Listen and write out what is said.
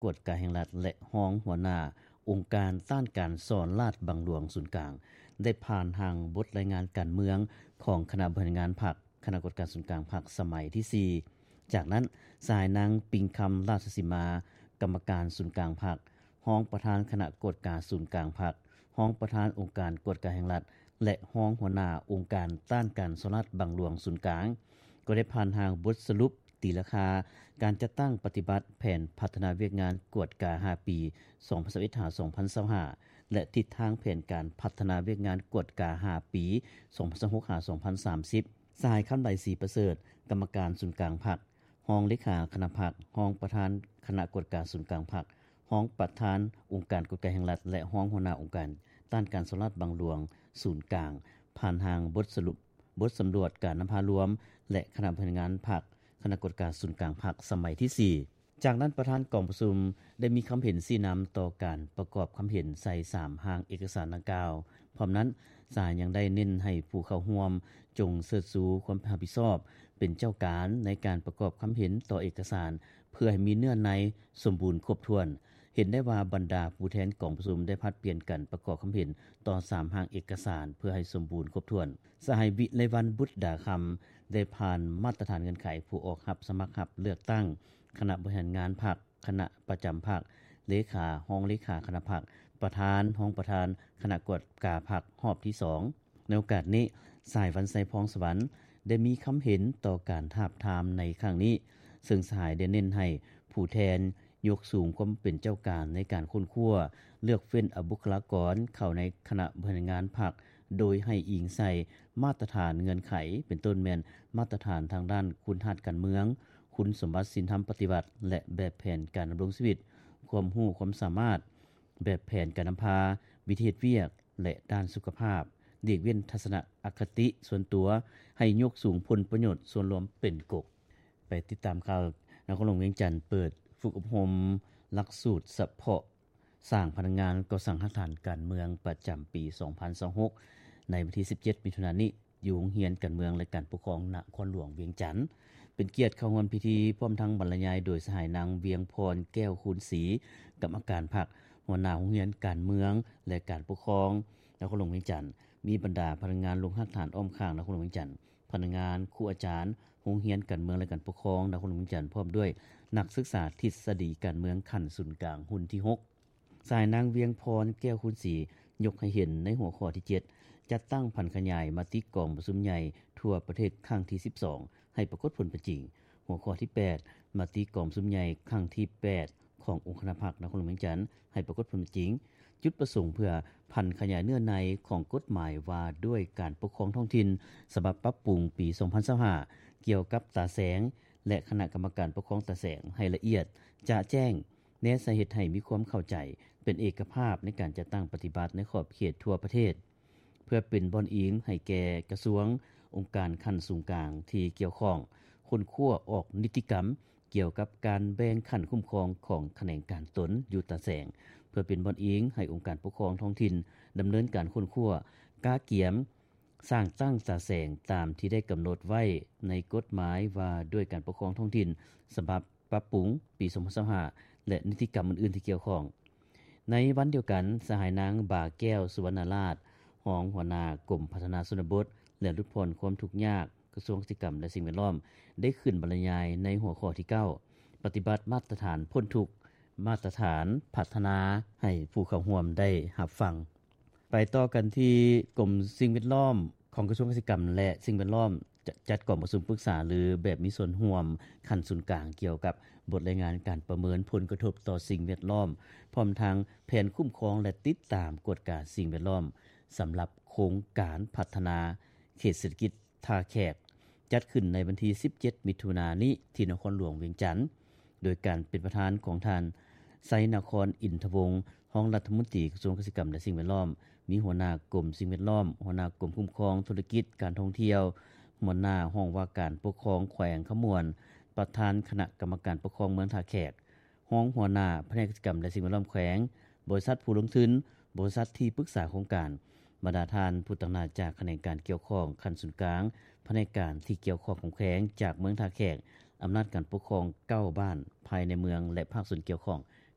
ກວດກາແຫ່ງລັດ ແລະ ຮອງຫົວໜ້າອົງການຕ້ານການສໍ້ລາດບັງຫຼວງສູນກາງ ໄດ້ຜ່ານຮ່າງບົດລາຍງານການເມືອງຂອງຄະນະບໍລິຫານງານພັກ, ຄະນະກວດກາສູນກາງພັກສະໄໝທີສີ່. ຈາກນັ້ນ, ສະຫາຍນາງ ປິງຄຳ ລາຊະສີມາ ກຳມະການສູນກາງພັກ, ຮອງປະທານຄະນະກວດກາສູນກາງພັກ, ຮອງປະທານອົງການກວດກາແຫ່ງລັດ ແລະ ຮອງຫົວໜ້າອົງການຕ້ານການສໍ້ລາດບັງຫຼວງສູນກາງ ກໍໄດ້ຜ່ານຮ່າງບົດສະຫຼຸບຕີລາຄາການຈັດຕັ້ງປະຕິບັດແຜນພັດທະນາວຽກງານກວດກາຫ້າປີ ສອງພັນຊາວເອັດ ຫາ ສອງພັນຊາວຫ້າ ແລະ ທິດທາງແຜນການພັດທະນາວຽກງານກວດກາຫ້າປີ ສອງພັນຊາວຫົກ ຫາ ສອງພັນສາມສິບ. ສະຫາຍ ຄຳໄຫຼ ສີປະເສີດ ກຳມະການສູນກາງພັກ, ຮອງເລຂາຄະນະພັກ, ຮອງປະທານຄະນະກວດກາສູນກາງພັກ, ຮອງປະທານອົງການກວດກາແຫ່ງລັດ ແລະ ຮອງຫົວໜ້າອົງການຕ້ານການສໍ້ລາດບັງຫຼວງສູນກາງ ຜ່ານຮ່າງບົດສະຫຼຸບ ບົດສຳຫຼວດການນຳພາລວມ ແລະ ຄະນະບໍລິຫານງານພັກ, ຄະນະກວດກາສູນກາງພັກສະໄໝທີສີ່. ຈາກນັ້ນ, ປະທານກອງປະຊຸມໄດ້ມີຄຳເຫັນຊີ້ນຳຕໍ່ການປະກອບຄຳເຫັນໃສ່ສາມຮ່າງເອກະສານດັ່ງກ່າວ. ພ້ອມນັ້ນ, ສະຫາຍຍັງໄດ້ເນັ້ນໃຫ້ຜູ້ເຂົ້າຮ່ວມຈົ່ງເຊີດຊູຄວາມຮັບຜິດຊອບເປັນເຈົ້າການໃນການປະກອບຄຳເຫັນຕໍ່ເອກະສານ ເພື່ອໃຫ້ມີເນື້ອໃນສົມບູນຄົບຖ້ວນ. ເຫັນໄດ້ວ່າບັນດາຜູ້ແທນກອງປະຊຸມໄດ້ຜັດປ່ຽນກັນປະກອບຄຳເຫັນຕໍ່ສາມຮ່າງເອກະສານເພື່ອໃຫ້ສົມບູນຄົບຖ້ວນ. ສະຫາຍ ວິໄລວັນ ບຸດດາຄຳ ໄດ້ຜ່ານມາດຕະຖານເງື່ອນໄຂຜູ້ອອກຮັບສະໝັກຮັບເລືອກຕັ້ງຄະນະບໍລິຫານງານພັກ, ຄະນະປະຈຳພັກ, ເລຂາ, ຮອງເລຂາຄະນະພັກ, ປະທານ, ຮອງປະທານຄະນະກວດກາພັກຮອບທີສອງ. ໃນໂອກາດນີ້, ສະຫາຍ ວັນໄຊ ພອງສະຫວັນ ໄດ້ມີຄຳເຫັນຕໍ່ການທາບທາມໃນຄັ້ງນີ້, ເຊິ່ງສະຫາຍໄດ້ເນັ້ນໃຫ້ຜູ້ແທນຍົກສູງຄວາມເປັນເຈົ້າການໃນການຄົ້ນຄວ້າ, ເລືອກເຟ້ນເອົາບຸກຄະລາກອນເຂົ້າໃນຄະນະບໍລິຫານງານພັກ ໂດຍໃຫ້ອີງໃສ່ມາດຕະຖານເງື່ອນໄຂ, ເປັນຕົ້ນແມ່ນມາດຕະຖານທາງດ້ານຄຸນທາດການເມືອງ, ຄຸນສົມບັດສິນທຳປະຕິວັດ ແລະ ແບບແຜນການດຳລົງຊີວິດ, ຄວາມຮູ້ຄວາມສາມາດ, ແບບແຜນການນຳພາ, ວິທີເຮັດວຽກ ແລະ ດ້ານສຸຂະພາບ, ຫຼີກເວັ້ນທັດສະນະອະຄະຕິສ່ວນຕົວ, ໃຫ້ຍົກສູງຜົນປະໂຫຍດສ່ວນລວມເປັນກົກ. ໄປຕິດຕາມຂ່າວ, ນະຄອນຫຼວງວຽງຈັນເປີດຝຶກອົບຮົມຫຼັກສູດສະເພາະສ້າງພະນັກງານກໍ່ສ້າງຮາກຖານການເມືອງປະຈຳປີສອງພັນຊາວຫົກ ໃນວັນທີສິບເຈັດ ມິຖຸນານີ້ ຢູ່ໂຮງຮຽນການເມືອງ ແລະ ການປົກຄອງນະຄອນຫຼວງວຽງຈັນ. ເປັນກຽດເຂົ້າຮ່ວມພິທີ ພ້ອມທັງບັນລະຍາຍໂດຍສະຫາຍນາງ ວຽງພອນ ແກ້ວຄູນສີ ກຳມະການພັກ, ຫົວໜ້າໂຮງຮຽນການເມືອງ ແລະ ການປົກຄອງນະຄອນຫຼວງວຽງຈັນ, ມີບັນດາພະນັກງານລົງຮາກຖານອ້ອມຂ້າງນະຄອນຫຼວງວຽງຈັນ, ພະນັກງານ, ຄູອາຈານໂຮງຮຽນການເມືອງ ແລະ ການປົກຄອງນະຄອນຫຼວງວຽງຈັນ, ພ້ອມດ້ວຍນັກສຶກສາທິດສະດີການເມືອງຂັ້ນສູນກາງ ຮຸ່ນທີຫົກ. ສະຫາຍນາງ ວຽງພອນ ແກ້ວຄູນສີ ຍົກໃຫ້ເຫັນໃນຫົວຂໍ້ທີເຈັດ ຈັດຕັ້ງຜັນຂະຫຍາຍມະຕິກອງປະຊຸມໃຫຍ່ທົ່ວປະເທດຄັ້ງທີສິບສອງ ໃຫ້ປາກົດຜົນເປັນຈິງ, ຫົວຂໍ້ທີແປດ ມະຕິກອງປະຊຸມໃຫຍ່ຄັ້ງທີແປດ ຂອງອົງຄະນະພັກນະຄອນຫຼວງວຽງຈັນ ໃຫ້ປາກົດຜົນເປັນຈິງ, ຈຸດປະສົງເພື່ອຜັນຂະຫຍາຍເນື້ອໃນຂອງກົດໝາຍວ່າດ້ວຍການປົກຄອງທ້ອງຖິ່ນ ສະບັບປັບປຸງປີສອງພັນຊາວຫ້າ ກ່ຽວກັບຕາແສງ ແລະ ຄະນະກຳມະການປົກຄອງຕາແສງ ໃຫ້ລະອຽດ, ຈະແຈ້ງ, ແນໃສ່ເຮັດໃຫ້ມີຄວາມເຂົ້າໃຈເປັນເອກະພາບໃນການຈັດຕັ້ງປະຕິບັດໃນຂອບເຂດທົ່ວປະເທດ, ເພື່ອເປັນບ່ອນອີງໃຫ້ແກ່ກະຊວງ, ອົງການຂັ້ນສູນກາງທີ່ກ່ຽວຂ້ອງ, ຄົ້ນຄວ້າອອກນິຕິກຳກ່ຽວກັບການແບ່ງຂັ້ນຄຸ້ມຄອງຂອງຂະແໜງການຕົນຢູ່ຕາແສງ, ເພື່ອເປັນບ່ອນອີງໃຫ້ອົງການປົກຄອງທ້ອງຖິ່ນດຳເນີນການຄົ້ນຄວ້າ, ກະກຽມ, ສ້າງຕັ້ງຕາແສງຕາມທີ່ໄດ້ກຳນົດໄວ້ໃນກົດໝາຍວ່າດ້ວຍການປົກຄອງທ້ອງຖິ່ນ ສະບັບປັບປຸງປີສອງພັນຊາວຫ້າ ແລະ ນິຕິກຳອື່ນໆທີ່ກ່ຽວຂ້ອງ. ໃນວັນດຽວກັນ, ສະຫາຍນາງ ບາແກ້ວ ສຸວັນນະລາດ ຮອງຫົວໜ້າກົມພັດທະນາຊົນນະບົດ ແລະ ຫຼຸດຜ່ອນຄວາມທຸກຍາກ ກະຊວງກະສິກຳ ແລະ ສິ່ງແວດລ້ອມ ໄດ້ຂຶ້ນບັນລະຍາຍໃນຫົວຂໍ້ທີເກົ້າ ປະຕິບັດມາດຕະຖານພົ້ນທຸກ, ມາດຕະຖານພັດທະນາ ໃຫ້ຜູ້ເຂົ້າຮ່ວມໄດ້ຮັບຟັງ. ໄປຕໍ່ກັນທີ່ກົມສິ່ງແວດລ້ອມຂອງກະຊວງກະສິກຳ ແລະ ສິ່ງແວດລ້ອມ ຈະຈັດກອງປະຊຸມປຶກສາ ຫຼື ແບບມີສ່ວນຮ່ວມຂັ້ນສູນກາງ ກ່ຽວກັບບົດລາຍງານການປະເມີນຜົນກະທົບຕໍ່ສິ່ງແວດລ້ອມ ພ້ອມທັງແຜນຄຸ້ມຄອງ ແລະ ຕິດຕາມກວດກາສິ່ງແວດລ້ອມ ສຳລັບໂຄງການພັດທະນາເຂດເສດຖະກິດ ທ່າແຂກ ຈັດຂຶ້ນໃນວັນທີສິບເຈັດ ມິຖຸນານີ້ ທີ່ນະຄອນຫຼວງວຽງຈັນ ໂດຍການເປັນປະທານຂອງທ່ານ ໄຊນະຄອນ ອິນທະວົງ ຮອງລັດຖະມົນຕີກະຊວງກະສິກຳ ແລະ ສິ່ງແວດລ້ອມ, ມີຫົວໜ້າກົມສິ່ງແວດລ້ອມ, ຫົວໜ້າກົມຄຸ້ມຄອງທຸລະກິດການທ່ອງທ່ຽວ, ຫົວໜ້າຫ້ອງວ່າການປົກຄອງແຂວງຄຳມ່ວນ, ປະທານຄະນະກຳມະການປົກຄອງເມືອງທ່າແຂກ, ຮອງຫົວໜ້າພະແນກກະສິກຳ ແລະ ສິ່ງແວດລ້ອມແຂວງ, ບໍລິສັດຜູ້ລົງທຶນ, ບໍລິສັດທີ່ປຶກສາໂຄງການ, ບັນດາທ່ານຜູ້ຕາງໜ້າຈາກຂະແໜງການກ່ຽວຂ້ອງຂັ້ນສູນກາງ, ພະແນກການທີ່ກ່ຽວຂ້ອງຂອງແຂວງ, ຈາກເມືອງທ່າແຂກ, ອຳນາດການປົກຄອງເກົ້າບ້ານພາຍໃນເມືອງ ແລະ ພາກສ່ວນກ່ຽວຂ້ອງ